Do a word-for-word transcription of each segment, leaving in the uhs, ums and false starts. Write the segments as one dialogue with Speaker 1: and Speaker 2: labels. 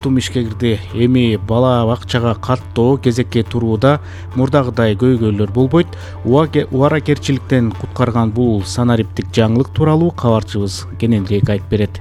Speaker 1: Тум ишке кирди. Эми бала бакчага каттоо кезекке турууда мурдагыдай көйгөйлөр болбойт. Убаракерчиликтен куткарган бул санариптик жаңылык тууралуу кабарчыбыз кененирээк айтып берет.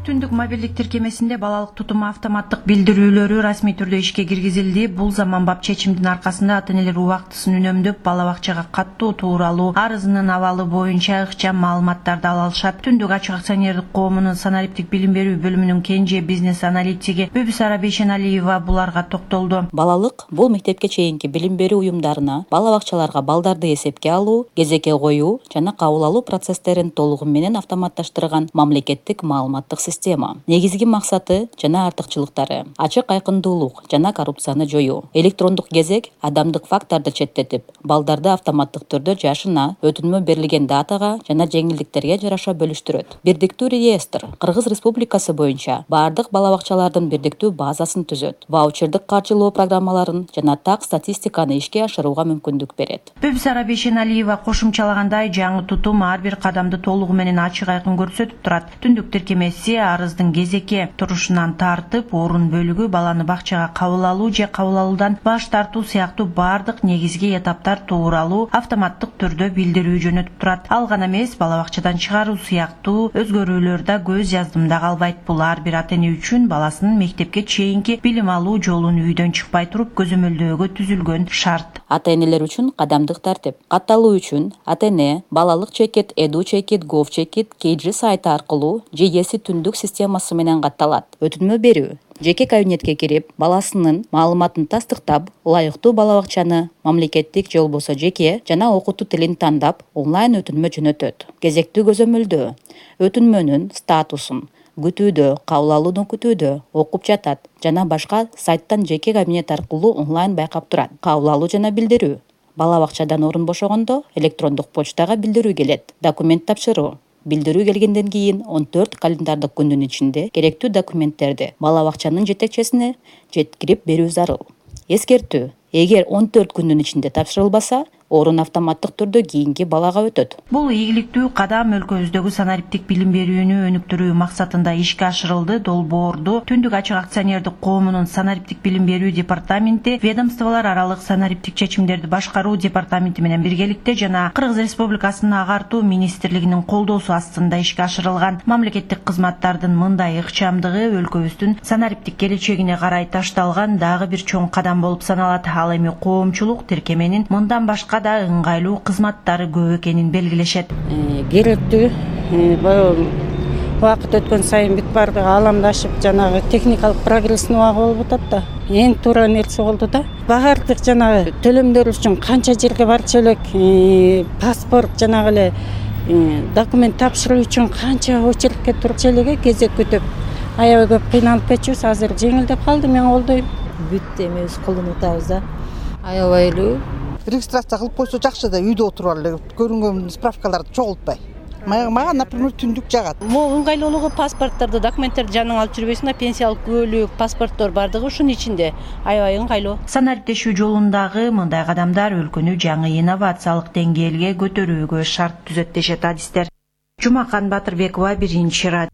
Speaker 2: Түндүк мобилдик тиркемесинде балалык тутум автоматтык билдирүүлөрү расмий түрдө ишке киргизилди. Бул заманбап чечимдин аркасында ата-энелер убактысын үнөмдөп, бала бакчага каттоо тууралуу арызынын абалы боюнча ыкчам маалыматтарды ала алышат. Түндүк ачык акционердик коомунун санариптик билим берүү бөлүмүнүн кенже бизнес аналитиги Бүбүсара Бейшеналиева буларга токтолду.
Speaker 3: Балалык бул мектепке чейинки билим берүү уюмдарына, бала бакчаларга балдарды эсепке алуу, кезекке коюу жана кабыл алуу процесстерин толугу менен автоматташтырган мамлекеттик маалыматтык система. Негизги максаты жана артыкчылыктары: ачык айкындуулук жана коррупцияны жоюу. Электрондук кезек адамдык факторду четтетип, балдарды автоматтык түрдө жашына, өтүнмө берилген датага жана жеңилдиктерге жараша бөлүштүрөт. Бирдиктүү реестр Кыргыз Республикасы боюнча бардык бала бакчалардын бирдиктүү базасын түзөт. Ваучердик каржылоо программаларын жана так статистиканы ишке ашырууга мүмкүндүк берет.
Speaker 2: Бүбүсара Бейшеналиева кошумчалагандай, жаңы тутум ар бир кадамды толугу менен ачык айкын көрсөтүп турат. Түндүк тиркемеси арыздын кезекке турушунан тартып, орун бөлүгү, баланы бакчага кабыл алуу же кабыл алуудан баш тартуу сыяктуу бардык негизги этаптар тууралуу автоматтык түрдө билдирүү жөнөтүп турат. Ал гана эмес, бала бакчадан чыгаруу сыяктуу өзгөрүүлөр да көз жаздымда калбайт. Бул ар бир ата-эне үчүн баласынын мектепке чейинки билим алуу жолун үйдөн чыкпай туруп көзөмөлдөөгө түзүлгөн шарт.
Speaker 3: Ата-энелер үчүн кадамдык тартип. Катталуу үчүн ата-эне балалык чекит, эду чекит, гов чекит Кейджи сайты аркылуу же эси түндүк системасы менен катталат. Өтүнмө берүү жеке кабинетке кирип, баласынын маалыматын тастыктап, ылайыктуу бала бакчаны мамлекеттик же болбосо жеке жана окутуу тилин тандап, онлайн өтүнмө жөнөтөт. Кезектүү көзөмөлдөө өтүнмөнүн статусун күтүүдө, кабыл алууну күтүүдө, окуп жатат жана башка сайттан жеке кабинет аркылуу онлайн байкап турат. Кабыл алуу жана билдирүү бала бакчадан орун бошогондо электрондук почтага билдирүү келет. Документ тапшыруу билдирүү келгенден кийин он төрт календардык күндүн ичинде керектүү документтерди бала бакчанын жетекчисине жеткирип берүү зарыл. Эскертүү: эгер он төрт күндүн ичинде тапшырылбаса, орун автоматтык түрдө кийинки балага өтөт.
Speaker 2: Бул ийгиликтүү кадам өлкөбүздөгү санариптик билим берүүнү өнүктүрүү максатында ишке ашырылды. Долбоорду Түндүк ачык акционердик коомунун санариптик билим берүү департаменти, ведомстволор аралык санариптик чечимдерди башкаруу департаменти менен биргеликте жана Кыргыз Республикасынын агартуу министрлигинин колдоосу астында ишке ашырылган. Мамлекеттик кызматтардын мындай ыкчамдыгы өлкөбүздүн санариптик келечегине карай ташталган дагы бир чоң кадам болуп саналат. Ал эми коомчулук тиркеменин мындан башка да ыңгайлуу кызматтары көп экенин белгилешет.
Speaker 4: Керектүү баягы убакыт өткөн сайын бүт баардыгы ааламдашып, жанагы техникалык прогресстин убагы болуп атат да. Эң туура нерсе болду да. Баардык жанагы төлөмдөр үчүн канча жерге барчу элек, паспорт жанагы эле документ тапшыруу үчүн канча очередке туруп элеге кезек күтүп, аябай көп кыйналып кетчүбүз. Азыр жеңилдеп калды, мен колдойм.
Speaker 5: Бүт эми өз колдон утабыз да. Аябай эле
Speaker 6: регистрация кылып койсо жакшы да, үйдө отуруп эле көрүнгөн справкаларды чогултпай. Мага, например, түндүк жагат.
Speaker 7: Могу ыңгайлуулугу паспортторду, документтерди жанынан алып жүрбөйсүң да, пенсиялык күбөлүк, паспорттор бардыгы ушунун ичинде. Аябай ыңгайлуу.
Speaker 2: Санариптешүү жолундагы мындай кадамдар өлкөнү жаңы инновациялык деңгээлге көтөрүүгө шарт түзөт дешет адистер. Жумакан Батырбекова, Биринчи радио.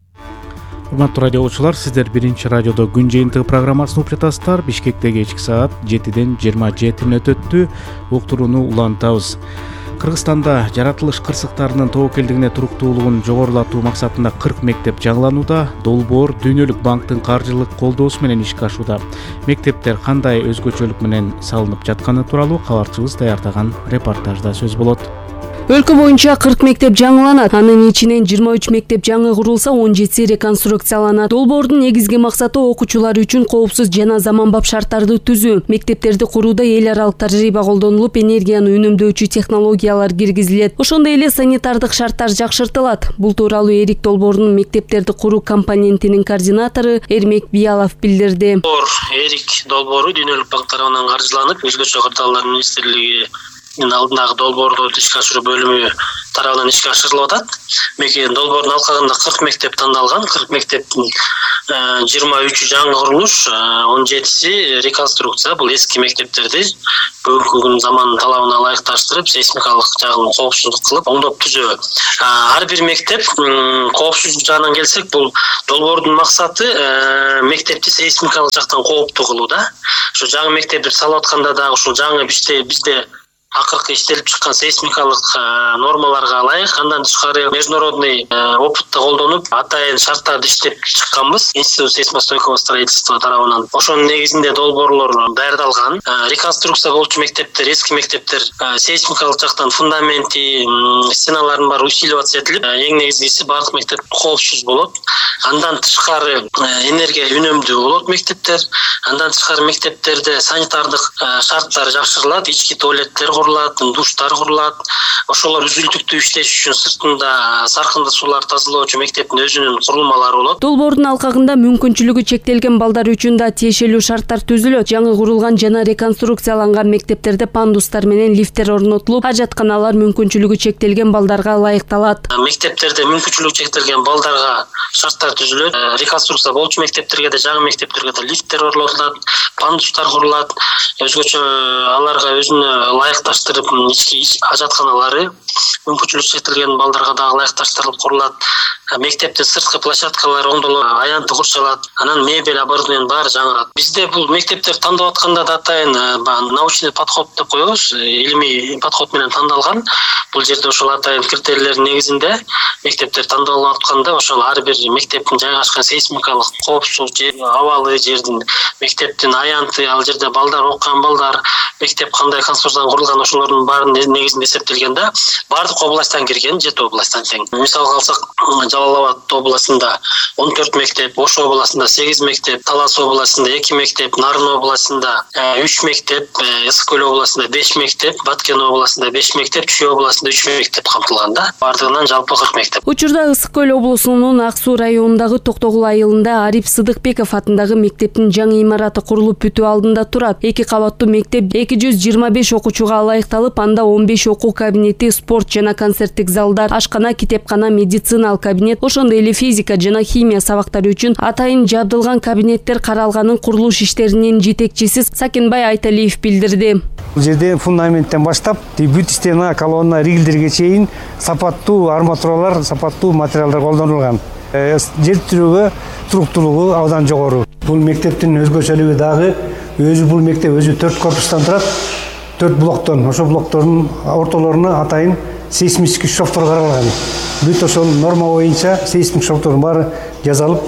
Speaker 1: Урматтуу радио окуучулар, сиздер Биринчи радиодо күн жыйынтыгы программасын угуп жатасыздар. Бишкекте кечки саат жетиден жыйырма жети мүнөт өттү. Уктурууну улантабыз. Кыргызстанда жаратылыш кырсыктарынын тобокелдигине туруктуулугун жогорулатуу максатында кырк мектеп жаңыланууда. Долбоор Дүйнөлүк банктын каржылык колдоосу менен ишке ашууда. Мектептер кандай өзгөчөлүк менен салынып жатканы тууралуу кабарчыбыз даярдаган репортажда сөз болот.
Speaker 8: Өлкө боюнча кырк мектеп жаңыланат. Анын ичинен жыйырма үч мектеп жаңы курулса, он жетиси реконструкцияланат. Долбоордун негизги максаты окуучулар үчүн коопсуз жана заманбап шарттарды түзүү. Мектептерди курууда эл аралык тажрыйба колдонулуп, энергияны үнөмдөөчү технологиялар киргизилет. Ошондой эле санитардык шарттар жакшыртылат. Бул тууралуу Эрик Долбоордун мектептерди куруу компонентинин координатору Эрмек Биялов билдирди.
Speaker 9: Эрик Долбоору Дүйнөлүк банк тарабынан каржыланып, өзгөчө кырдаалдар министрлиги алдындагы долбоорду ишке ашыруу бөлүмү тарабынан ишке ашырылып атат. Долбоордун алкагында кырк мектеп тандалган. кырк мектептин жыйырма үчү жаңы курулуш, он жетиси реконструкция. Бул эски мектептерди бүгүнкү күн заманын талабына ылайыкташтырып, сейсмикалык жагын коопсуздук кылып, оңдоп түзөө. Ар бир мектеп коопсуздук жагынан келсек, бул долбоордун максаты мектепти сейсмикалык жактан кооптуу кылуу да. Ошо жаңы мектепти салып атканда дагы ушул жаңы бизде бизде акыркы иштелип чыккан сейсмикалык нормаларга ылайык, андан тышкары международный опытты колдонуп, атайын шарттарды иштеп чыкканбыз. Институт сейсмостойкого строительства тарабынан. Ошонун негизинде долбоорлор даярдалган. Реконструкция болчу мектептер, эски мектептер сейсмикалык жактан фундаменти, стеналарын баары усиливаться этилип, эң негизгиси бардык мектеп коопсуз болот. Андан тышкары энергия үнөмдүү болот мектептер. Андан тышкары мектептерде санитардык шарттар жакшырылат, ички туалеттер курулат, душтар курулат. Ошолор үзүлтүктүү иштеш үчүн сыртында саркынды суулар тазалоочу мектептин өзүнүн курулмалары болот.
Speaker 8: Долбоордун алкагында мүмкүнчүлүгү чектелген балдар үчүн да тиешелүү шарттар түзүлөт. Жаңы курулган жана реконструкцияланган мектептерде пандустар менен лифттер орнотулуп, ажатканалар мүмкүнчүлүгү чектелген балдарга ылайыкталат.
Speaker 9: Мектептерде мүмкүнчүлүгү чектелген балдарга шарттар түзүлөт. Реконструкция болчу мектептерге да, жаңы мектептерге да лифттер орнотулат, пандустар курулат. Өзгөчө аларга өзүнө ылайыкташтырып, ички ажатканалары мүмкүнчүлүгү чектелген балдарга да ылайыкташтырылып курулат. Мектептин сырткы площадкалары оңдолуп, аянты курчалат. Анан мебель оборудованиянын баары жаңырат. Бизде бул мектептер тандап атканда да атайын научный подход деп коебуз, илимий подход менен тандалган. Бул жерде ошол атайын критерийлердин негизинде мектептер тандалып атканда, ошол ар бир мектептин жайгашкан сейсмикалык коопсуз жер, абалы жердин, мектептин аянты, ал жерде балдар окуган балдар, мектеп кандай конструкциядан курулган, ошолордун баарынын негизинде эсептелген да, бардык областтан кирген, жети областтан тең. Мисалга алсак, Жалал Абад областында он төрт мектеп, Ош областында сегиз мектеп, Талас областында эки мектеп, Нарын областында үч мектеп, Ысык Көл областында беш мектеп, Баткен областында беш мектеп, Чүй областында үч мектеп камтылган да. Бардыгынан жалпы кырк мектеп.
Speaker 8: Учурда Ысык Көл облусунун Ак Суу районундагы Токтогул айылында Ариф Сыдыкбеков атындагы мектептин жаңы имараты курулуп бүтүү алдында турат. Эки кабаттуу мектеп эки жүз жыйырма беш окуучуга ылайыкталып, анда он беш окуу кабинети, спорт жана концерттик залдар, ашкана, китепкана, медициналык кабинет, ошондой эле физика жана химия сабактары үчүн атайын жабдылган кабинеттер каралганын курулуш иштеринин жетекчиси Сакенбай Айталиев билдирди.
Speaker 10: Бул жерде фундаменттен баштап, бүт стена, колонна, ригелдерге чейин сапаттуу арматуралар, сапаттуу материалдар колдонулган. Жер түрүгү, туруктуулугу абдан жогору. Бул мектептин өзгөчөлүгү дагы, өзү бул мектеп өзү төрт корпустан турат, төрт блоктон. Ошол блоктордун ортолоруна атайын сейсмический шовдор каралган. Бүт ошол норма боюнча сейсмик шовдордун баары жазалып,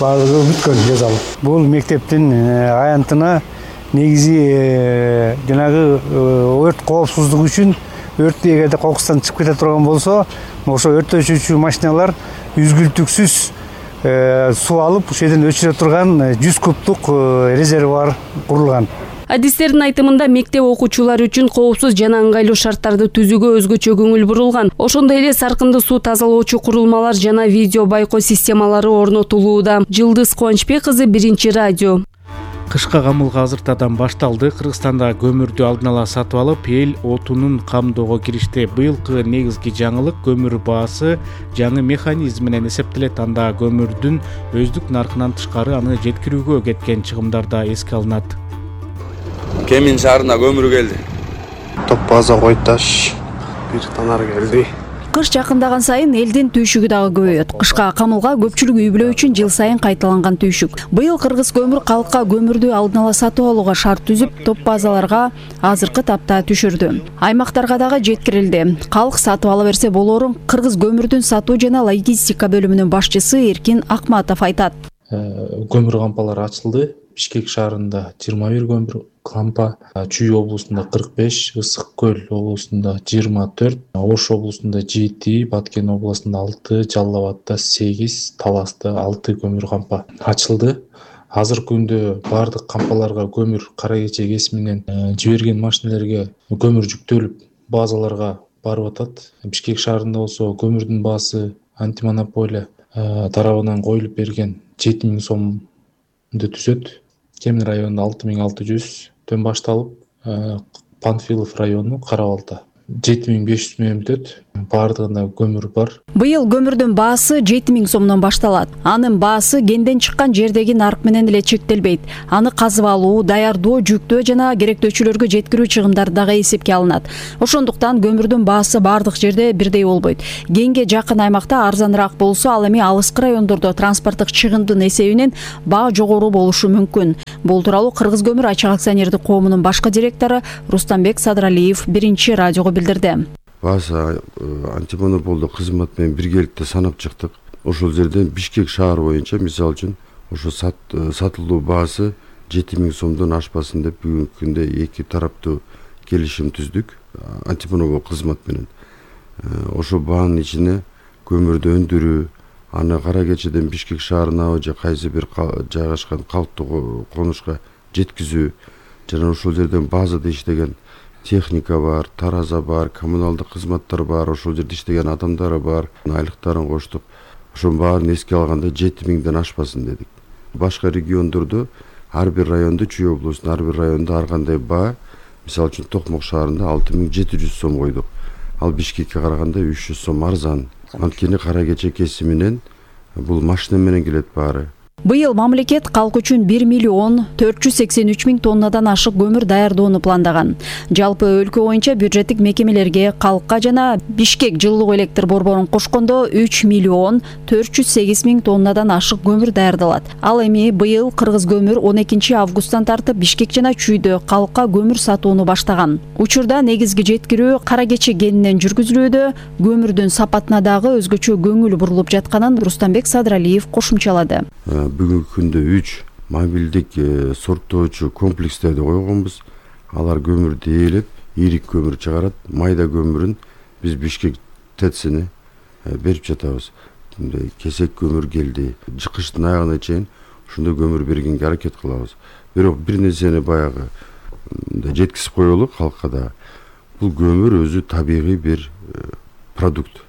Speaker 10: баардыгы бүткөн жазалып. Бул мектептин аянтына негизи жанагы өрт коопсуздугу үчүн, өрт эгерде кокустан чыгып кете турган болсо, ошо өрттөчүчү машиналар үзгүлтүксүз суу алып, ошол жерден өчүрө турган жүз кубтук резервуар курулган.
Speaker 8: Адистердин айтымында мектеп окуучулары үчүн коопсуз жана ыңгайлуу шарттарды түзүүгө өзгөчө көңүл бурулган. Ошондой эле саркынды суу тазалоочу курулмалар жана видео байкоо системалары орнотулууда. Жылдыз Кубанычбек кызы, Биринчи радио.
Speaker 1: Кышка камылга азыртадан башталды. Кыргызстанда көмүрдү алдын ала сатып алып, эл отунун камдоого киришти. Быйылкы негизги жаңылык көмүр баасы жаңы механизм менен эсептелет. Анда көмүрдүн өздүк наркынан тышкары аны жеткирүүгө кеткен чыгымдар да эске алынат.
Speaker 11: Кемин шаарына көмүр келди.
Speaker 12: Топ база Койташ бир танар келди.
Speaker 13: Кыш жакындаган сайын элдин түйшүгү дагы көбөйөт. Кышка камылга көпчүлүк үй бүлө үчүн жыл сайын кайталанган түйшүк. Быйыл Кыргыз көмүр калкка көмүрдү алдын ала сатып алууга шарт түзүп, топ базаларга азыркы тапта түшүрдү. Аймактарга дагы жеткирилди. Калк сатып ала берсе болорун Кыргыз көмүрдүн сатуу жана логистика бөлүмүнүн башчысы Эркин Акматов айтат.
Speaker 14: Көмүр кампалары ачылды. Бишкек шаарында жыйырма бир көмүр кампа, Чүй облусунда кырк беш, Ысык Көл облусунда жыйырма төрт, Ош облусунда жети, Баткен облусунда алты, Жалал Абадда сегиз, Таласта алты көмүр кампа ачылды. Азыркы күндө бардык кампаларга көмүр кара кече кесим менен жиберген машинелерге көмүр жүктөлүп базаларга барып атат. Бишкек шаарында болсо көмүрдүн баасы антимонополия тарабынан коюлуп берген жети миң сомду түзөт. Кемин районунда алты миң алты жүздөн башталып, Панфилов району Кара Балта. жети миң беш жүз мең өтөт. Бардыгында көмүр бар.
Speaker 13: Быйыл көмүрдүн баасы жети миң сомдон башталат. Анын баасы кенден чыккан жердеги нарк менен эле чектелбейт. Аны казып алуу, даярдоо, жүктөө жана керектөөчүлөргө жеткирүү чыгымдары дагы эсепке алынат. Ошондуктан көмүрдүн баасы бардык жерде бирдей болбойт. Кенге жакын аймакта арзаныраак болсо, ал эми алыскы райондордо транспорттук чыгымдын эсебинен баа жогору болушу мүмкүн. Бул тууралуу Кыргыз көмүр ачык акционердик коомунун башкы директору Рустамбек Садралиев биринчи радиого билдирди.
Speaker 15: Баасы антимонополдук кызмат менен биргеликте санап чыктык. Ошол жерден Бишкек шаар боюнча мисалы үчүн ошо сатылуу баасы жети миң сомдон ашпасын деп бүгүнкү күндө эки тараптуу келишим түздүк антимонопол кызмат менен. Ошо баанын ичине көмүрдү өндүрүү, аны Кара Кечеден Бишкек шаарына же кайсы бир жайгашкан калктуу конушка жеткизүү жана ошол жерден базада иштеген техника бар, тараза бар, коммуналдык кызматтар бар, ошол жерде иштеген адамдар бар, айлыктарын коштук. Ошонун баарын эске алганда жети миңден ашпасын дедик. Башка региондордо ар бир райондо, Чүй облусунун ар бир райондо ар кандай баа, мисалы үчүн Токмок шаарында алты миң жети жүз сом койдук. Ал Бишкекке караганда үч жүз сом арзан. Анткени Кара Кече кесиминен бул машина менен келет баары.
Speaker 13: Быйыл мамлекет калк үчүн бир миллион төрт жүз сексен үч миң тоннадан ашык көмүр даярдоону пландаган. Жалпы өлкө боюнча бюджеттик мекемелерге калкка жана Бишкек жылуулук электр борборун кошкондо үч миллион төрт жүз сегиз миң тоннадан ашык көмүр даярдалат. Ал эми быйыл Кыргыз көмүр он экинчи августтан тартып Бишкек жана Чүйдө калкка көмүр сатууну баштаган. Учурда негизги жеткирүү Кара Кече кенинен жүргүзүлүүдө, көмүрдүн сапатына дагы өзгөчө көңүл бурулуп жатканын Рустамбек Садралиев кошумчалады.
Speaker 15: Бүгүнкү күндө үч мобилдик сорттоочу комплекстерди койгонбуз. Алар көмүрдү ээлеп, ийрик көмүр чыгарат. Майда көмүрүн биз Бишкек ТЭЦине берип жатабыз. Кесек көмүр келди. Кыштын аягына чейин ушундай көмүр бергенге аракет кылабыз. Бирок бир нерсени баягы жеткизип коелу калкка да. Бул көмүр өзү табигый бир продукт.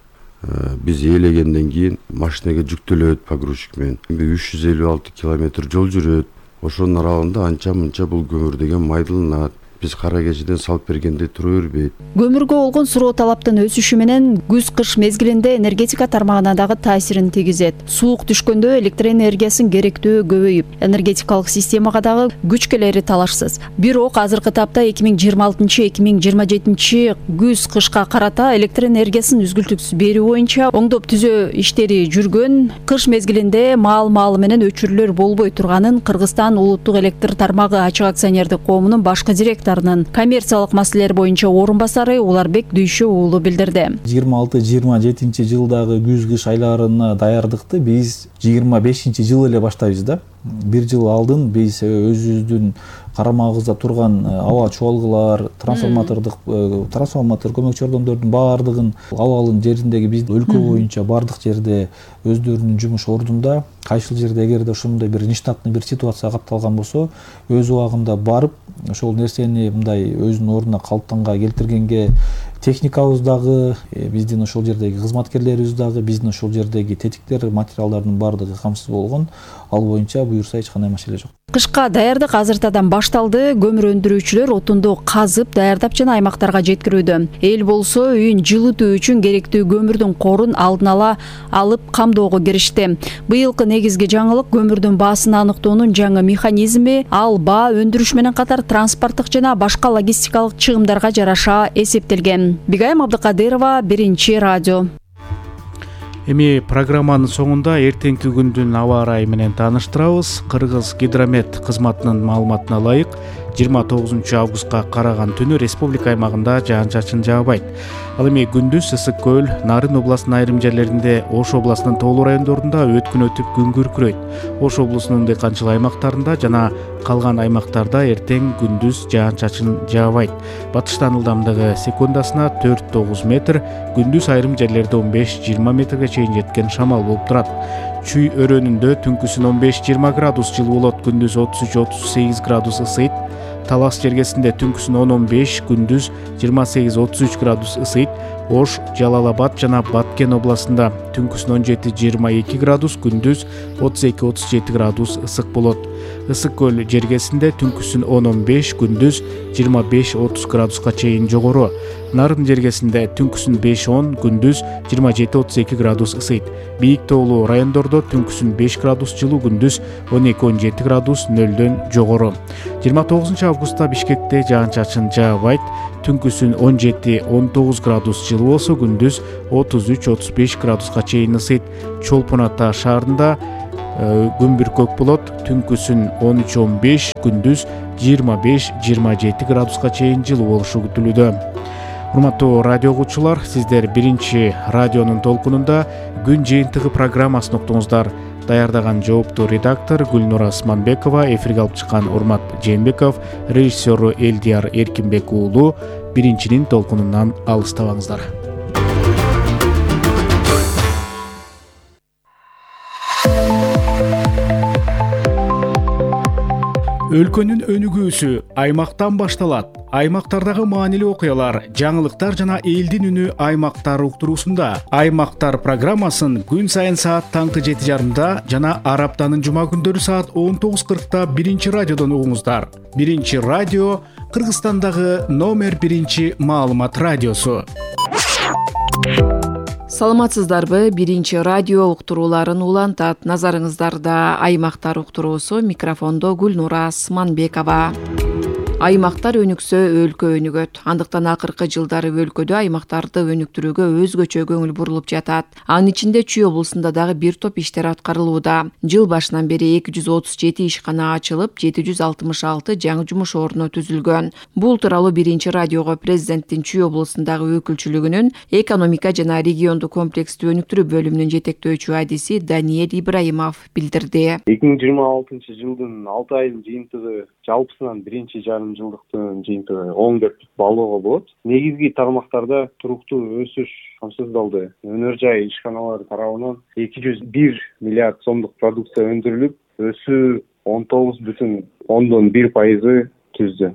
Speaker 15: Биз ээлегенден кийин машинеге жүктөлөт погрузчик менен. үч жүз элүү алты километр жол жүрөт. Ошонун аралыгында анча-мынча бул көмүр деген майдаланат. Биз Кара Кечеден салып бергенде тура бербейт.
Speaker 13: Көмүргө болгон суроо талаптын өсүшү менен күз-кыш мезгилинде энергетика тармагына дагы таасирин тийгизет. Суук түшкөндө электр энергиясын керектөө көбөйүп, энергетикалык системага дагы күч келери талашсыз. Бирок азыркы тапта эки миң жыйырма алтынчы эки миң жыйырма жетинчи күз-кышка карата электр энергиясын үзгүлтүксүз берүү боюнча оңдоп түзөө иштери жүргөн. Кыш мезгилинде маал-маалы менен өчүрүүлөр болбой турганын Кыргызстан улуттук электр тармагы ачык акционердик коомунун башкы директору коммерциялык маселелер боюнча орун басары Уларбек Дүйшө уулу билдирди.
Speaker 16: жыйырма алты жыйырма жетинчи жылдагы күз-кыш айларына даярдыкты биз жыйырма бешинчи жылы эле баштайбыз да. Бир жыл алдын биз өзүбүздүн карамагыбызда турган аба чуалгылар, трансформатордук трансформатор көмөкчү ордондордун баардыгын абалын жериндеги биздин өлкө боюнча баардык жерде өздөрүнүн жумуш ордунда, кайсыл жерде эгерде ошондой бир нештатный бир ситуация капталган болсо, өз убагында барып ошол нерсени мындай өзүнүн ордуна калыптанга келтиргенге техникабыз дагы, биздин ошол жердеги кызматкерлерибиз дагы, биздин ошол жердеги тетиктер, материалдардын баардыгы камсыз болгон. Ал боюнча буюрса эч кандай маселе жок.
Speaker 13: Кышка даярдык азыртадан башталды. Көмүр өндүрүүчүлөр отунду казып, даярдап жана аймактарга жеткирүүдө. Эл болсо үйүн жылытуу үчүн керектүү көмүрдүн корун алдын ала алып камдоого киришти. Быйылкы негизги жаңылык көмүрдүн баасын аныктоонун жаңы механизми. Ал баа өндүрүш менен катар транспорттук жана башка логистикалык чыгымдарга жараша эсептелген. Бигайым Абдыкадырова, биринчи радио.
Speaker 1: Эми программанын соңунда эртеңки күндүн аба ырайы менен тааныштырабыз. Кыргыз гидромет кызматынын маалыматына ылайык жыйырма тогузунчу августка караган түнү республика аймагында жаан-чачын жаабайт. Ал эми күндүз ысык көл, Нарын областынын айрым жерлеринде, Ош областынын тоолуу райондорунда өткүн өтүп күн күркүрөйт. Ош облусунун дыйканчылык аймактарында жана калган аймактарда эртең күндүз жаан-чачын жаабайт. Батыштан ылдамдыгы секундасына төрт тогуз метр, күндүз айрым жерлерде он беш жыйырма метрге чейин жеткен шамал болуп турат. Чүй өрөөнүндө түнкүсүн он беш жыйырма градус жылуу болот, күндүз отуз үч отуз сегиз градус ысыйт. Талас жергесинде түнкүсүн он он беш, күндүз жыйырма сегиз отуз үч градус ысыйт. Ош, Жалал-Абад жана Баткен областында түнкүсүн он жети жыйырма эки градус, күндүз отуз эки отуз жети градус ысык болот. Ысык көл жергесинде түнкүсүн он он беш, күндүз жыйырма беш отуз градуска чейин жогору. Нарын жергесинде түнкүсүн беш он, күндүз жыйырма жети отуз эки градус ысыйт. Бийик тоолуу райондордо түнкүсүн беш градус жылуу, күндүз он эки он жети градус нөлдөн жогору. жыйырма тогузунчу августта Бишкекте жаан-чачын жаабайт. Түнкүсүн он жети он тогуз градус жылуу болсо, күндүз отуз үч отуз беш градуска чейин ысыйт. Чолпон Ата шаарында күн бүркөк болот. Түнкүсүн он үч он беш, күндүз жыйырма беш жыйырма жети градуска чейин жылуу болушу күтүлүүдө. Урматтуу радио угуучулар, сиздер биринчи радионун толкунунда күн жыйынтыгы программасын уктуңуздар. Даярдаган жооптуу редактор Гүлнура Османбекова, эфирге алып чыккан Урмат Жээнбеков, режиссеру Элдияр Эркинбек уулу. Биринчинин толкунунан алыстабаңыздар. Өлкөнүн өнүгүүсү аймактан башталат. Аймактардагы маанилүү окуялар, жаңылыктар жана элдин үнү аймактар уктуруусунда. Аймактар программасын күн сайын саат таңкы жети жарымда жана ар аптанын жума күндөрү саат он тогуз кыркта биринчи радиодон угуңуздар. Биринчи радио Кыргызстандагы номер биринчи маалымат радиосу.
Speaker 17: Саламатсыздарбы? Биринчи радио уктурууларын улантат. Назарыңыздарда аймактар уктуруусу, микрофондо Гүлнура Османбекова. Аймактар өнүксө өлкө өнүгөт. Андыктан акыркы жылдары өлкөдө аймактарды өнүктүрүүгө өзгөчө көңүл бурулуп жатат. Анын ичинде Чүй облусунда дагы бир топ иштер аткарылууда. Жыл башынан бери эки жүз отуз жети ишкана ачылып, жети жүз алтымыш алты жаңы жумуш орну түзүлгөн. Бул тууралуу биринчи радиого президенттин Чүй облусундагы өкүлчүлүгүнүн экономика жана регионду комплекстүү өнүктүрүү бөлүмүнүн жетектөөчү адиси Даниэль Ибраимов билдирди.
Speaker 18: эки миң жыйырма алтынчы жылдын алты айынын жыйынтыгы жалпысынан биринчи жарым жылдыктын жыйынтыгы он деп баалоого болот. Негизги тармактарда туруктуу өсүш камсыздалды. Өнөр жай ишканалары тарабынан эки жүз бир миллиард сомдук продукция өндүрүлүп, өсүү он тогуз бүтүн ондон бир пайызы түздү.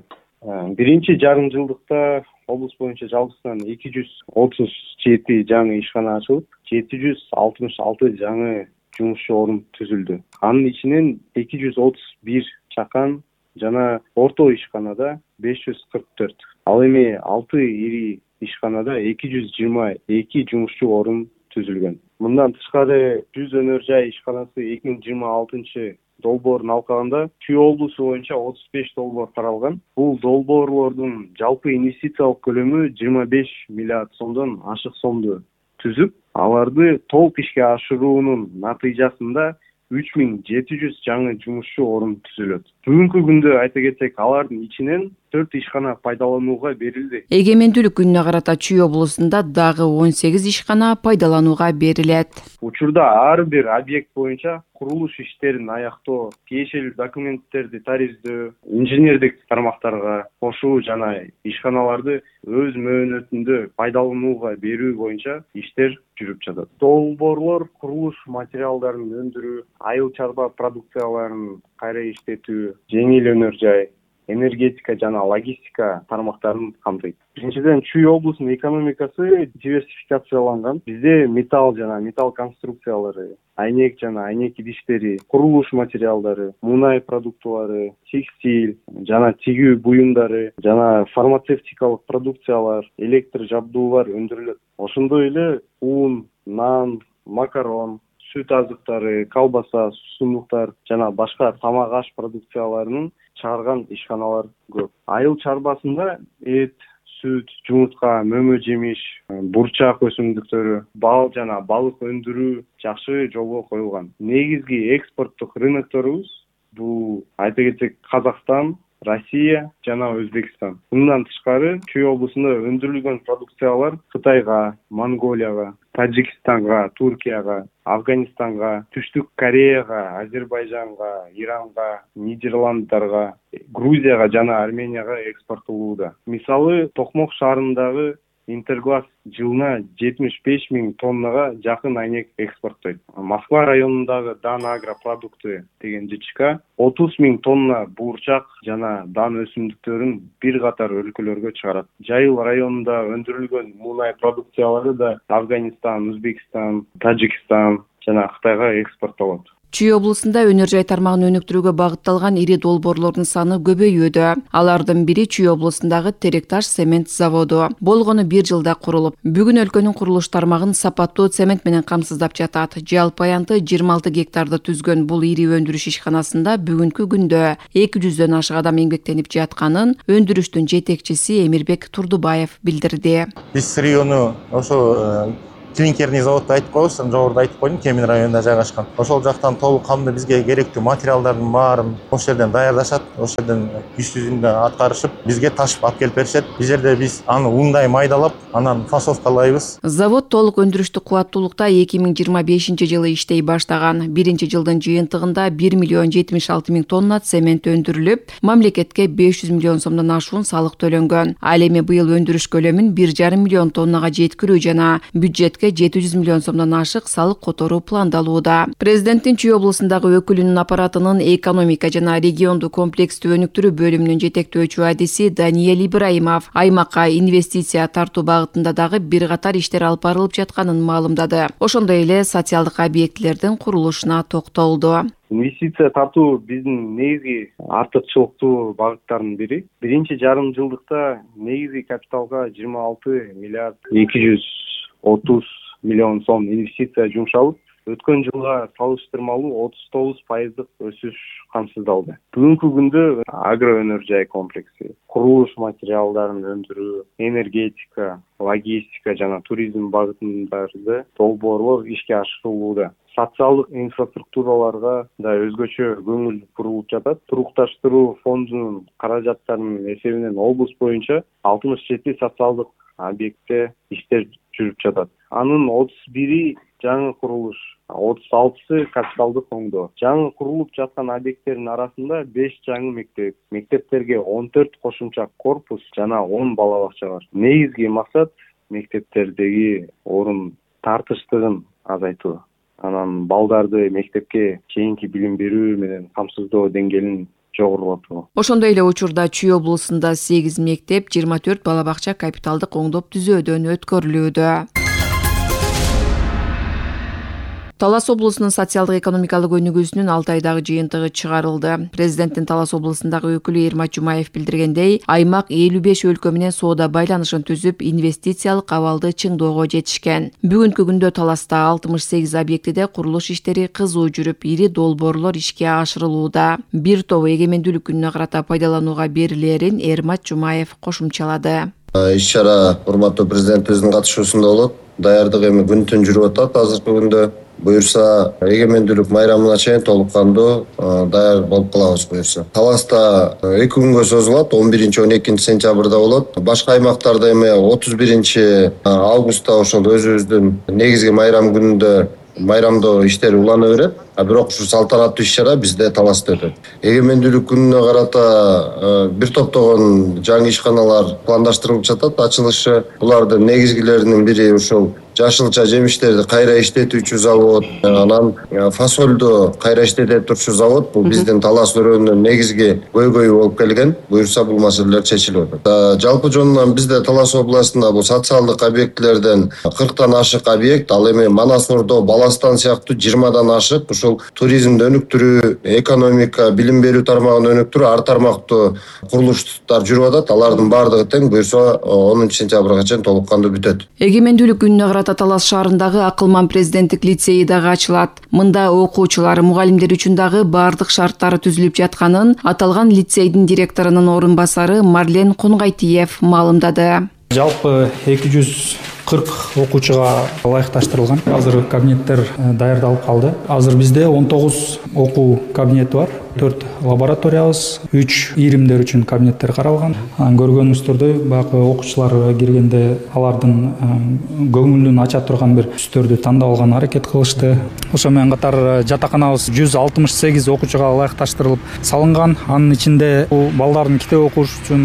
Speaker 18: Биринчи жарым жылдыкта облус боюнча жалпысынан эки жүз отуз жети жаңы ишкана ачылып, жети жүз алтымыш алты жаңы жумушчу орун түзүлдү. Анын ичинен эки жүз отуз бир чакан жана орто ишканада беш жүз кырк төрт. Ал эми алты ири ишканада эки жүз жыйырма эки жумушчу орун түзүлгөн. Мындан тышкары жүз өнөр жай ишканасы эки миң жыйырма алтынчы долбоорун алкаганда Чүй облусу боюнча отуз беш долбоор каралган. Бул долбоорлордун жалпы инвестициялык көлөмү жыйырма беш миллиард сомдон ашык сомду түзүп, аларды толук ишке ашыруунун натыйжасында үч миң жети жүз жаңы жумушчу орун түзүлөт. Бүгүнкү күндө айта кетсек, алардын ичинен төрт ишкана пайдаланууга берилди.
Speaker 17: Эгемендүүлүк күнүнө карата Чүй облусунда дагы он сегиз ишкана пайдаланууга берилет.
Speaker 18: Учурда ар бир объект боюнча курулуш иштерин аяктоо, тиешелүү документтерди тарифдөө, инженердик тармактарга кошуу жана ишканаларды өз мөөнөтүндө пайдаланууга берүү боюнча иштер жүрүп жатат. Долбоорлор курулуш материалдарын өндүрүү, айыл чарба продукцияларын кайра иштетүү, жеңил өнөр жай, энергетика жана логистика тармактарын камтыйт. Биринчиден, Чүй облусунун экономикасы диверсификацияланган. Бизде металл жана металл конструкциялары, айнек жана айнек идиштери, курулуш материалдары, мунай продуктылары, текстиль жана тигүү буюмдары жана фармацевтикалык продукциялар, электр жабдуулар өндүрүлөт. Ошондой эле ун, нан, макарон, сүт азыктары, колбаса, сусундуктар жана башка тамак аш продукцияларынын чыгарган ишканалар көп. Айыл чарбасында эт, сүт, жумуртка, мөмө жемиш, бурчак өсүмдүктөрү, бал жана балык өндүрүү жакшы жолго коюлган. Негизги экспорттук рынокторубуз бул айта кетсек Казакстан, Россия жана Өзбекстан. Мындан тышкары Чүй облусунда өндүрүлгөн продукциялар Кытайга, Монголияга, Тажикстанга, Туркияга, Афганистанга, Түштүк Кореяга, Азербайжанга, Иранга, Нидерланддарга, Грузияга жана Арменияга экспорттолууда. Мисалы, Токмок шаарындагы Интерглаз жылына жетимиш беш миң тоннага жакын айнек экспорттойт. Москва районундагы Дан агропродукты деген ЖЧК отуз миң тонна буурчак жана дан өсүмдүктөрүн бир катар өлкөлөргө чыгарат. Жайыл районунда өндүрүлгөн мунай продукциялары да Афганистан, Өзбекстан, Тажикстан жана Кытайга экспорттолот.
Speaker 17: Чүй облусунда өнөр жай тармагын өнүктүрүүгө багытталган ири долбоорлордун саны көбөйүүдө. Алардын бири Чүй облусундагы Теректаш цемент заводу. Болгону бир жылда курулуп, бүгүн өлкөнүн курулуш тармагын сапаттуу цемент менен камсыздап жатат. Жалпы аянты жыйырма алты гектарды түзгөн бул ири өндүрүш ишканасында бүгүнкү күндө эки жүздөн ашык адам эмгектенип жатканын өндүрүштүн жетекчиси Эмирбек Турдубаев билдирди.
Speaker 19: Биз району ошо клинкерный заводду айтып коебуз, жогоруда айтып койдум, Кемин районунда жайгашкан. Ошол жактан толук камды бизге керектүү материалдардын баарын ошол жерден даярдашат, ошол жерден иш жүзүндө аткарышып, бизге ташып алып келип беришет. Бул жерде биз аны ундай майдалап, анан фасовкалайбыз.
Speaker 17: Завод толук өндүрүштүк кубаттуулукта эки миң жыйырма бешинчи жылы иштей баштаган. Биринчи жылдын жыйынтыгында бир миллион жетимиш алты миң тонна цемент өндүрүлүп, мамлекетке беш жүз миллион сомдон ашуун салык төлөнгөн. Ал эми быйыл өндүрүш көлөмүн бир жарым миллион тоннага жеткирүү жана бюджет жети жүз миллион сомдон ашык салык которуу пландалууда. Президенттин Чүй облусундагы өкүлүнүн аппаратынын экономика жана региондук комплекстүү өнүктүрүү бөлүмүнүн жетектөөчү адиси Даниэль Ибраимов аймакка инвестиция тартуу багытында дагы бир катар иштер алып барылып жатканын маалымдады. Ошондой эле социалдык объектилердин курулушуна токтолду.
Speaker 18: Инвестиция тартуу биздин негизги артыкчылыктуу багыттардын бири. Биринчи жарым жылдыкта негизги капиталга жыйырма алты миллиард эки жүз отуз миллион сом инвестиция жумшалып, өткөн жылга салыштырмалуу отуз тогуз пайыздык өсүш камсыздалды. Бүгүнкү күндө агро өнөр жай комплекси, курулуш материалдарын өндүрүү, энергетика, логистика жана туризм багытындагы долбоорлор ишке ашырылууда. Социалдык инфраструктураларга да өзгөчө көңүл бурулуп жатат. Турукташтыруу фондунун каражаттарынын эсебинен облус боюнча алтымыш жети социалдык объектте иштер жүрүп жатат. Анын отуз бири жаңы курулуш, отуз алтысы капиталдык оңдоо. Жаңы курулуп жаткан объекттердин арасында беш жаңы мектеп, мектептерге он төрт кошумча корпус жана он бала бакча бар. Негизги максат мектептердеги орун тартыштыгын азайтуу. Анан балдарды мектепке чейинки билим берүү менен камсыздоо деңгээлин жогорулатуу.
Speaker 17: Ошондой эле учурда Чүй облусунда сегиз мектеп, жыйырма төрт бала бакча капиталдык оңдоп түзөөдөн өткөрүлүүдө. Талас облусунун социалдык экономикалык өнүгүүсүнүн алты айдагы жыйынтыгы чыгарылды. Президенттин Талас облусундагы өкүлү Эрмат Жумаев билдиргендей, аймак элүү беш өлкө менен соода байланышын түзүп, инвестициялык абалды чыңдоого жетишкен. Бүгүнкү күндө Таласта алтымыш сегиз объектиде курулуш иштери кызуу жүрүп, ири долбоорлор ишке ашырылууда. Бир тобу эгемендүүлүк күнүнө карата пайдаланууга берилерин Эрмат Жумаев кошумчалады.
Speaker 20: Иш-чара урматтуу президентибиздин катышуусунда болот. Даярдык эми күн түн жүрүп атат. Азыркы күндө буюрса эгемендүүлүк майрамына чейин толук кандуу даяр болуп калабыз буюрса. Таласта эки күнгө созулат, он биринчи он экинчи сентябрда болот. Башка аймактарда эми отуз биринчи августта ошол өзүбүздүн негизги майрам күнүндө майрамдоо иштери улана берет. А бирок ушу салтанаттуу иш-чара бизде Таласта өтөт. Эгемендүүлүк күнүнө карата бир топтогон жаңы ишканалар пландаштырылып жатат, ачылышы. Булардын негизгилеринин бири ушул жашылча жемиштерди кайра иштетүүчү завод, анан фасолду кайра иштетип турчу завод. Бул биздин Талас өрөөнүнүн негизги көйгөйү болуп келген. Буюрса бул маселелер чечилип атат. Жалпы жонунан бизде Талас областында бул социалдык объектилерден кырктан ашык объект, ал эми Манас Ордо, Баластан сыяктуу жыйырмадан ашык ушул туризмди өнүктүрүү, экономика, билим берүү тармагын өнүктүрүү ар тармактуу курулуштар жүрүп атат. Алардын баардыгы тең буюрса онунчу сентябрга чейин толук кандуу бүтөт.
Speaker 17: Эгемендүүлүк күнүнө карата Талас шаарындагы Акылман президенттик лицейи дагы ачылат. Мында окуучулар, мугалимдер үчүн дагы баардык шарттары түзүлүп жатканын аталган лицейдин директорунун орун басары Марлен Кунгайтиев маалымдады.
Speaker 21: Жалпы эки жүз кырк окуучуга ылайыкташтырылган. Азыр кабинеттер даярдалып калды. Азыр бизде он тогуз окуу кабинети бар. төрт лабораториябыз, үч ийримдер үчүн кабинеттер каралган. Көргөнүңүздөрдөй баягы окуучулар киргенде алардын көңүлүн ача турган бир түстөрдү тандап алган аракет кылышты. Ошо менен катар жатаканабыз жүз алтымыш сегиз окуучуга ылайыкташтырылып салынган. Анын ичинде бул балдардын китеп окуш үчүн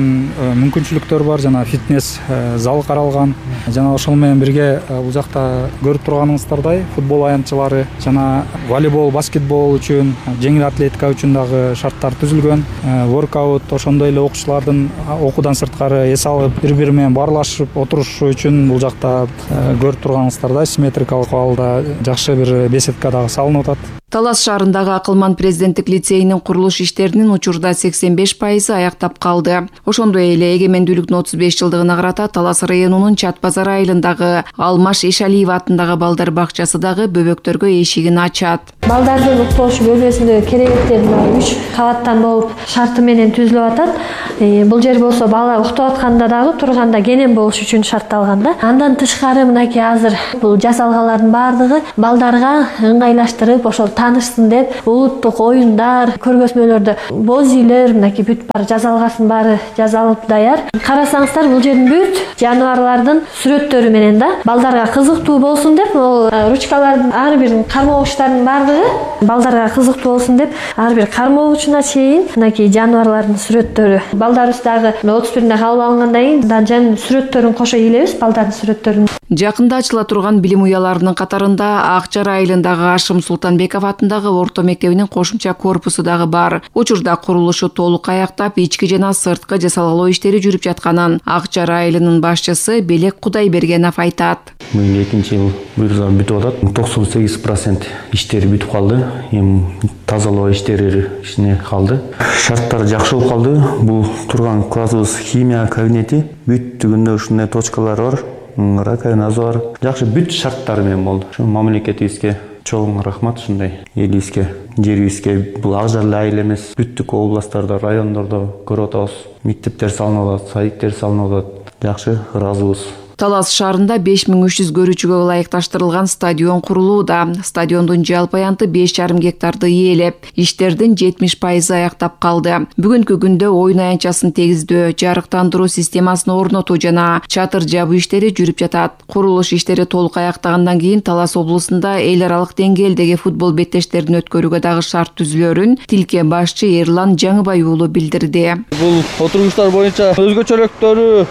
Speaker 21: мүмкүнчүлүктөр бар, жана фитнес залы каралган. Жана ошол менен бирге бул жакта көрүп турганыңыздардай футбол аянтчылары жана волейбол, баскетбол үчүн, жеңил атлетика үчүн дагы шарттар түзүлгөн. Воркаут, ошондой эле окуучулардын окуудан сырткары эс алып, бири-бири менен баарлашып отурушу үчүн бул жакта көрүп турганыңыздардай симметрикалык абалда жакшы бир беседка дагы салынып атат.
Speaker 17: Талас шаарындагы Акылман президенттик лицейинин курулуш иштеринин учурда сексен беш пайызы аяктап калды. Ошондой эле эгемендүүлүктүн отуз беш жылдыгына карата Талас районунун Чат базар айылындагы Алмаш Эшалиева атындагы балдар бакчасы дагы бөбөктөргө эшигин ачат.
Speaker 3: Балдардын уктош бөлмөсүндө керебеттер үч кабаттан болуп шарты менен түзүлүп атат. Бул жер болсо бала уктап атканда дагы турганда кенен болуш үчүн шартталган да. Андан тышкары мынакей азыр бул жасалганлардын баардыгы балдарга ыңгайлаштырып, ошол таанышсын деп улуттук оюндар, көргөзмөлөрдө боз үйлөр мынакей бүт бар жасалгасын баары жасалып даяр. Карасаңыздар бул жердин бүт жаныбарлардын сүрөттөрү менен да балдарга кызыктуу болсун деп, ол ручкалардын ар бир кармоогучтардын баардыгы балдарга кызыктуу болсун деп ар бир кармоогучуна чейин мынакей жаныбарлардын сүрөттөрү. Балдарыбыз дагы отуз биринде кабыл алынгандан кийин данжанын сүрөттөрүн кошо илебиз, балдардын сүрөттөрүн.
Speaker 17: Жакында ачыла турган билим уяларынын катарында Ак Жар айылындагы Ашым Султанбеков атындагы орто мектебинин кошумча корпусу дагы бар. Учурда курулушу толук аяктап, ички жана сырткы жасалгалоо иштери жүрүп жатканын Ак Жар айылынын башчысы Белек Кудайбергенов айтат.
Speaker 22: Мына экинчи жыл буюрса бүтүп атат. токсон сегиз процент иштери бүтүп калды. Эми тазалоо иштери ишине калды. Шарттар жакшы болуп калды. Бул турган классыбыз химия кабинети бүттүгүндө ушундай точкалар бар. Раковинасы бар. Жакшы бүт шарттары менен болду. Ушу мамлекетибизге чоң рахмат, ушундай элибизге, жерибизге. Бул Ак Жар айыл эмес, бүттүк областтарда, райондордо көрүп атабыз. Мектептер салынып атат, садиктер салынып атат. Жакшы, ыраазыбыз.
Speaker 17: Талас шаарында беш миң үч жүз көрүүчүгө ылайыкташтырылган стадион курулууда. Стадиондун жалпы аянты беш жарым гектарды ээлеп, иштердин жетимиш пайызы аяктап калды. Бүгүнкү күндө оюн аянтчасын тегиздөө, жарыктандыруу системасын орнотуу жана чатыр жабуу иштери жүрүп жатат. Курулуш иштери толук аяктагандан кийин Талас облусунда эл аралык деңгээлдеги футбол беттештерин өткөрүүгө дагы шарт түзүлөрүн Тилке башчы Эрлан Жаңыбай уулу билдирди.
Speaker 23: Бул отургучтар боюнча өзгөчөлүктөрү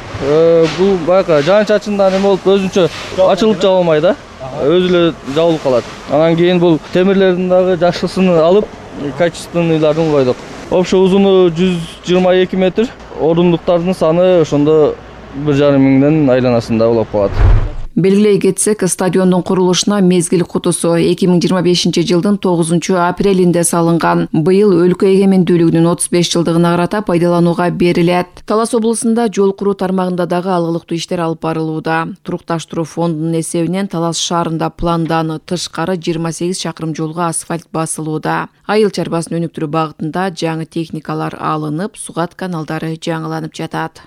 Speaker 23: бул баягы жанча ачындан эме болуп өзүнчө ачылып жабылмай да, өзү эле жабылып калат. Анан кийин бул темирлердин дагы жакшысын алып, качественныйларын улайдык. Общий узуну жүз жыйырма эки метр, орундуктардын саны ошондо бир жарым миңден айланасында улап калат.
Speaker 17: Белгилей кетсек, стадиондун курулушуна мезгил кутусу эки миң жыйырма бешинчи жылдын тогузунчу апрелинде салынган. Быйыл өлкө эгемендүүлүгүнүн отуз беш жылдыгына карата пайдаланууга берилет. Талас облусунда жол куруу тармагында дагы алгылыктуу иштер алып барылууда. Турукташтыруу фондунун эсебинен Талас шаарында пландан тышкары жыйырма сегиз чакырым жолго асфальт басылууда. Айыл чарбасын өнүктүрүү багытында жаңы техникалар алынып, сугат каналдары жаңыланып жатат.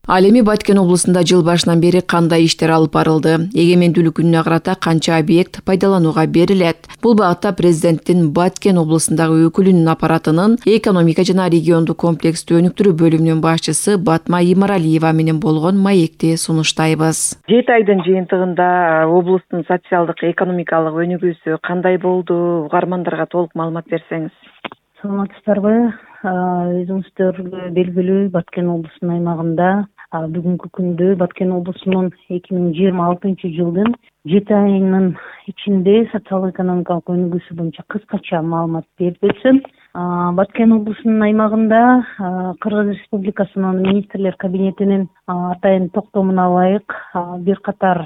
Speaker 17: Ал эми Баткен облусунда жыл башынан бери кандай иштер алып барылды? Эгемендүүлүк күнүнө карата канча объект пайдаланууга берилет? Бул багытта президенттин Баткен облусундагы өкүлүнүн аппаратынын экономика жана региондук комплекстүү өнүктүрүү бөлүмүнүн башчысы Батма Имаралиева менен болгон маекти сунуштайбыз.
Speaker 24: жети айдын жыйынтыгында облустун социалдык экономикалык өнүгүүсү кандай болду? Угармандарга толук маалымат берсеңиз.
Speaker 25: Саламатсыздарбы? Өзүңүздөргө белгилүү, Баткен облусунун аймагында бүгүнкү күндө Баткен облусунун эки миң жыйырма алтынчы жылдын жети айынын ичинде социалдык экономикалык өнүгүүсү боюнча кыскача маалымат берип өтсөм, Баткен облусунун аймагында Кыргыз Республикасынын министрлер кабинетинин атайын токтомуна ылайык бир катар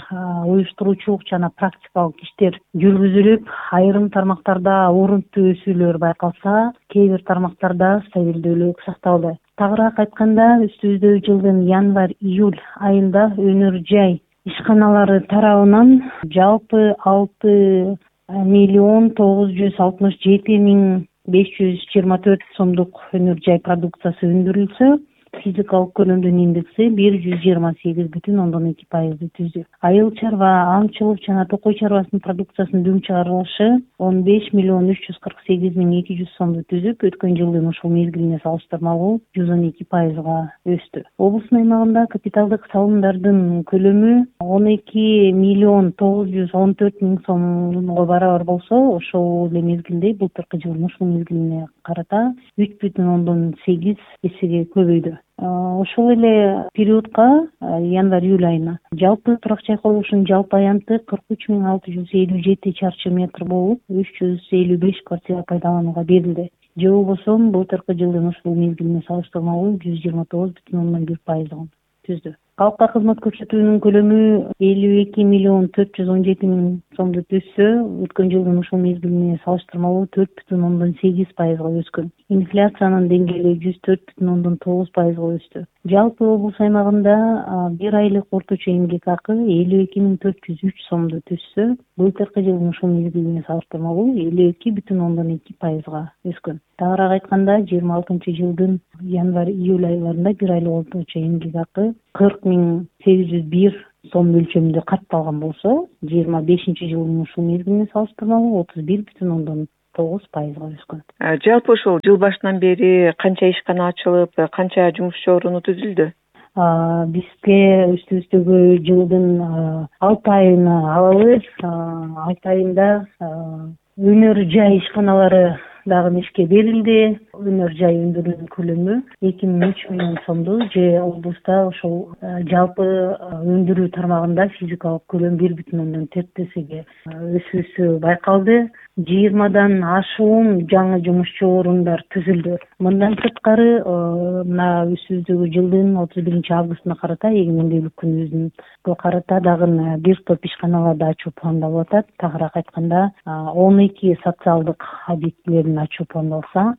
Speaker 25: уюштуруучулук жана практикалык иштер жүргүзүлүп, айрым тармактарда орунтуу өсүүлөр байкалса, кээ бир тармактарда стабилдүүлүк сакталды. Тагыраак айтканда, өстүбүздөгү жылдын январь-июль айында өнөр жай ишканалары тарабынан жалпы алты миллион тогуз жүз алтымыш жети миң беш жүз жыйырма төрт сомдук өнөр жай продукциясы өндүрүлсө, физикалык көлөмдүн индекси бир жүз жыйырма сегиз бүтүн ондон эки пайызды түздү. Айыл чарба, аңчылык жана токой чарбасынын продукциясынын дүң чыгарылышы он беш миллион үч жүз кырк сегиз миң эки жүз сомду түзүп, өткөн жылдын ушул мезгилине салыштырмалуу жүз он эки пайызга өстү. Облустун аймагында капиталдык салымдардын көлөмү он эки миллион тогуз жүз он төрт миң сомго барабар болсо, ошол эле мезгилде былтыркы жылдын ушул мезгилине карата үч бүтүн ондон сегиз эсеге көбөйдү. Ошол эле периодко январь июль айына жалпы турак жай курулушунун жалпы аянты кырк үч миң алты жүз элүү жети чарчы метр болуп, үч жүз элүү беш квартира пайдаланууга берилди. Же болбосо былтыркы жылдын ушул мезгилине салыштырмалуу жүз жыйырма тогуз бүтүн ондон бир пайызын түздү. Калкка кызмат көрсөтүүнүн көлөмү элүү эки миллион төрт жүз он жети миң сомду түзсө, өткөн жылдын ушул мезгилине салыштырмалуу төрт бүтүн ондон сегиз пайызга өскөн. Инфляциянын деңгээли жүз төрт бүтүн ондон тогуз пайызга өстү. Жалпы облус аймагында бир айлык орточо эмгек акы элүү эки миң төрт жүз үч сомду түзсө, былтыркы жылдын ушул мезгилине салыштырмалуу элүү эки бүтүн ондон эки пайызга өскөн. Тагыраак айтканда, жыйырма алтынчы жылдын январь июль айларында бир айлык орточо эмгек акы кырк миң сегиз жүз бир сом мөлчөрүндө катталган болсо, жыйырма бешинчи жылдын ушул мезгилине салыштырмалуу отуз бир бүтүн ондон тогуз пайызга өскөн.
Speaker 24: Жалпы ушул жыл башынан бери канча ишкана ачылып, канча жумушчу оруну түзүлдү?
Speaker 25: Бизге үстүбүздөгү жылдын алты айына алабыз. алты айында өнөр жай ишканалары дагы ишке берилди. Өнөр жай өндүрүүнүн көлөмү эки миң үч миллион сомду, же облуста ошол жалпы өндүрүү тармагында физикалык көлөм бир бүтүн ондон төрт эсеге өсүүсү байкалды. жыйырмадан ашуун жаңы жумушчу орундар түзүлдү. Мындан сырткары, мына үстүбүздөгү жылдын отуз биринчи августуна карата, эгемендүүлүк күнүбүзгө карата дагы бир топ ишканаларды ачуу пландалып атат. Тагыраак айтканда, он эки социалдык объектилерин ачуу пландалса,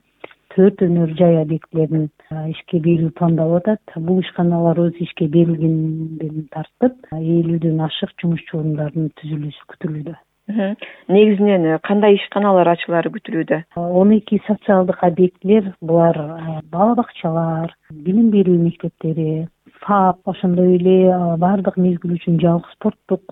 Speaker 25: төрт өнөр жай объектилерин ишке берүү пландалып атат. Бул ишканаларыбыз ишке берилгенден тартып, элүүдөн ашык жумушчу орундардын түзүлүшү күтүлүүдө.
Speaker 24: Негизинен кандай ишканалар ачылары күтүлүүдө?
Speaker 25: он эки социалдык объектилер, булар бала бакчалар, билим берүү мектептери, ФАП, ошондой эле баардык мезгил үчүн жалгы спорттук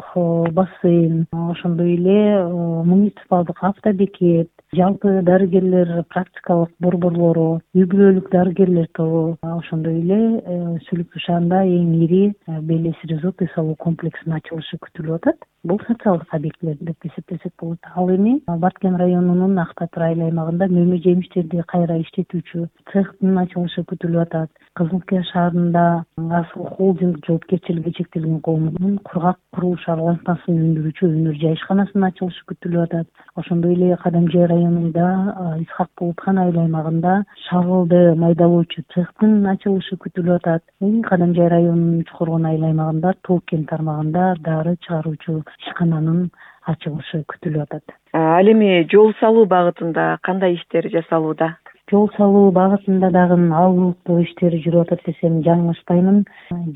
Speaker 25: бассейн, ошондой эле муниципалдык автобекет, жалпы дарыгерлер практикалык борборлору, үй бүлөлүк дарыгерлер тобу, ошондой эле Сүлүктүү шаарында эң ири Белес резорт үй салуу комплексинин ачылышы күтүлүп атат. Бул социалдык объектилер деп эсептесек болот. Ал эми Баткен районунун Ак Батыр айыл аймагында мөмө жемиштерди кайра иштетүүчү цехтин ачылышы күтүлүп атат. Кызылкия шаарында Асыл холдинг жоопкерчилиги чектелген коомунун кургак курулуш аралашмасын өндүрүүчү өнөр жай ишканасынын ачылышы күтүлүп атат. Ошондой эле Кадамжай районунда Исхак Булутхан айыл аймагында шагылды майдалоочу цехтин ачылышы күтүлүп атат. Кадамжай районунун Чукургон айыл аймагында Тооккен тармагында дары чыгаруучу ишкананын ачылышы күтүлүп атат.
Speaker 24: Ал эми жол салуу багытында кандай иштер жасалууда?
Speaker 25: Жол салуу багытында дагы алгылыктуу иштер жүрүп атат десем жаңылышпаймын.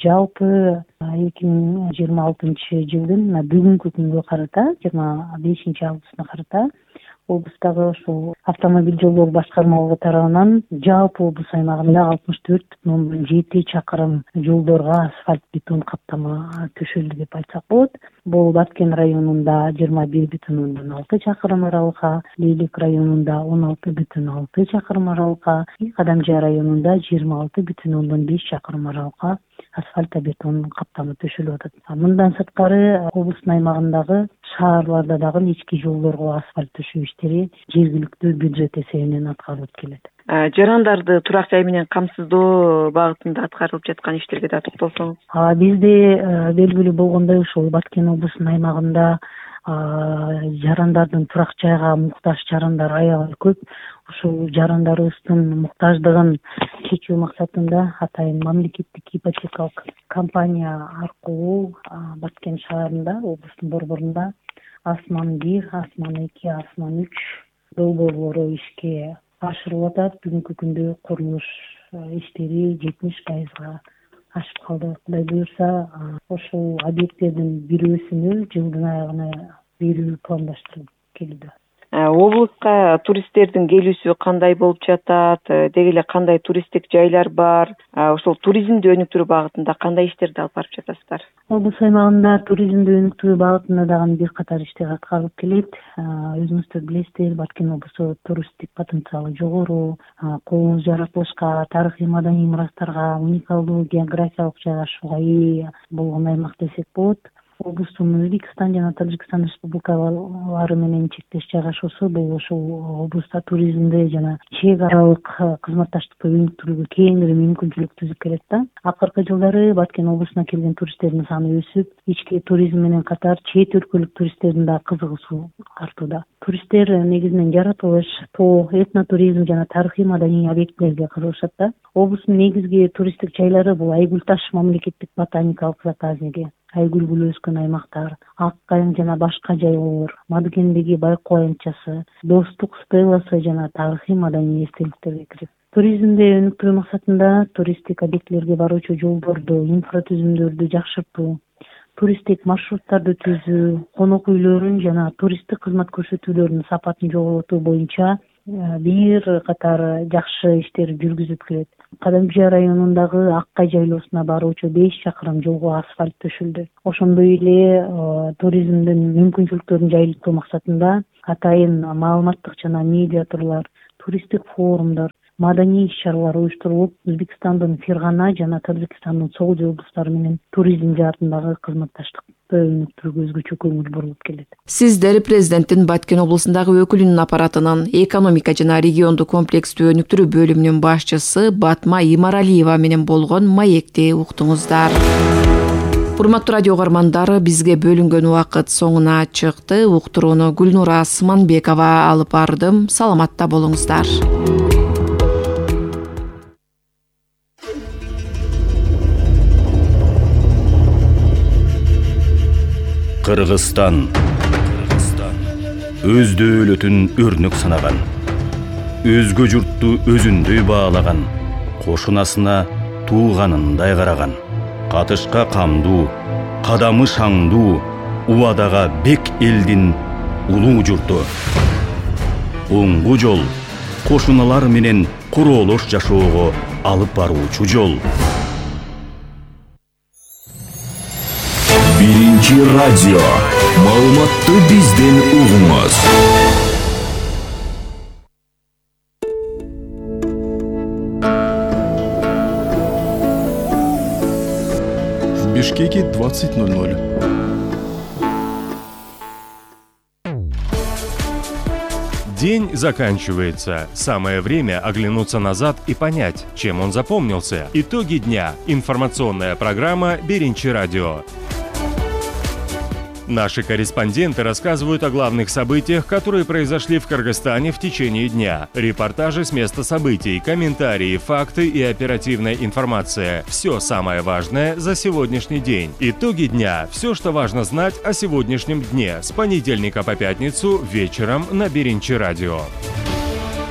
Speaker 25: Жалпы эки миң жыйырма алтынчы жылдын бүгүнкү күнгө карата, жыйырма бешинчи августуна карата облустагы ушул автомобиль жолдор башкармалыгы тарабынан жалпы облус аймагында алтымыш төрт бүтүн ондон жети чакырым жолдорго асфальт бетон каптама төшөлдү деп айтсак болот. Бул Баткен районунда жыйырма бир бүтүн ондон алты чакырым аралыкка, Лейлек районунда он алты бүтүн алты чакырым аралыкка, Кадамжай районунда жыйырма алты бүтүн ондон беш чакырым аралыкка асфальт бетон каптама төшөлүп атат. Мындан сырткары облустун аймагындагы шаарларда дагы ички жолдорго асфальт төшөө иштери жергиликтүү бюджет эсебинен аткарылып келет.
Speaker 24: Жарандарды турак жай менен камсыздоо багытында аткарылып жаткан иштерге да токтолсоңуз.
Speaker 25: Бизде белгилүү болгондой ушул Баткен облусунун аймагында жарандардын турак жайга муктаж жарандар аябай көп. Ушул жарандарыбыздын муктаждыгын чечүү максатында атайын мамлекеттик ипотекалык компания аркылуу Баткен шаарында, облустун борборунда Асман бир, Асман эки, Асман үч долбоорлору ишке ашырылып атат. Бүгүнкү күндө курулуш иштери жетимиш пайызга ашып калды. Кудай буюрса, ошол объекттердин бирөөсүнү жылдын аягына берүү пландаштырылып келүүдө.
Speaker 24: облуска туристтердин келүүсү кандай болуп жатат, деги эле кандай туристтик жайлар бар, ошол туризмди өнүктүрүү багытында кандай иштерди алып барып жатасыздар?
Speaker 25: Облус аймагында туризмди өнүктүрүү багытында дагы бир катар иштер аткарылып келет. Өзүңүздөр билесиздер, Баткен облусу туристтик потенциалы жогору, кооз жаратылышка, тарыхый маданий мурастарга, уникалдуу географиялык жайгашууга ээ болгон аймак десек болот. Облустун Өзбекстан жана Тажикстан республикалары менен чектеш жайгашуусу бул ошол облуста туризмди жана чек аралык кызматташтыкты өнүктүрүүгө кеңири мүмкүнчүлүк түзүп келет да. Акыркы жылдары Баткен облусуна келген туристтердин саны өсүп, ички туризм менен катар чет өлкөлүк туристтердин да кызыгуусу артууда. Туристтер негизинен жаратылыш, тоо, этнотуризм жана тарыхый маданий объектилерге кызыгышат да. Облустун негизги туристтик жайлары бул Айгүл таш мамлекеттик ботаникалык заказниги, айгүл гүлү өскөн аймактар, Ак кайың жана башка жайлоолор, Мадыкендеги байкоо аянтчасы, Достук стелласы жана тарыхый маданий эстеликтерге кирет. Туризмди өнүктүрүү максатында туристтик объектилерге баруучу жолдорду, инфратүзүмдөрдү жакшыртуу, туристтик маршруттарды түзүү, конок үйлөрүн жана туристтик кызмат көрсөтүүлөрдүн сапатын жоготуу боюнча бир катар жакшы иштер жүргүзүлүп келет. Кадамжы районундагы Ак кай жайлоосуна баруучу беш чакырым жолго асфальт төшүлдү. Ошондой эле туризмдин мүмкүнчүлүктөрүн жайылтуу максатында атайын маалыматтык жана медиа турлар, туристтик форумдар, маданий иш-чаралар уюштурулуп, Өзбекстандын Фергана жана Тажикстандын Согуж облустары менен туризм жаатындагы кызматташтыкты өнүктүрүүгө өзгөчө көңүл бурулуп келет.
Speaker 17: Сиздер президенттин Баткен облусундагы өкүлүнүн аппаратынын экономика жана регионду комплекстүү өнүктүрүү бөлүмүнүн башчысы Батма Имаралиева менен болгон маекти уктуңуздар. Урматтуу радио угармандар, бизге бөлүнгөн убакыт соңуна чыкты. Уктурууну Гүлнура Сманбекова алып бардым. Саламатта болуңуздар.
Speaker 2: Кыргызстан өз дөөлөтүн өрнөк санаган, өзгө журтту өзүндөй баалаган, кошунасына тууганындай караган, катышка камдуу, кадамы шаңдуу, убадага бек элдин улуу журту. Оңгу жол кошуналар менен короолош жашоого алып баруучу жол.
Speaker 4: Биринчи радио. Маалыматты бизден угуңуз.
Speaker 5: В Бишкеке двадцать ноль ноль.
Speaker 6: День заканчивается. Самое время оглянуться назад и понять, чем он запомнился. Итоги дня. Информационная программа «Биринчи радио». Наши корреспонденты рассказывают о главных событиях, которые произошли в Кыргызстане в течение дня. Репортажи с места событий, комментарии, факты и оперативная информация. Все самое важное за сегодняшний день. Итоги дня. Все, что важно знать о сегодняшнем дне. С понедельника по пятницу вечером на Биринчи радио.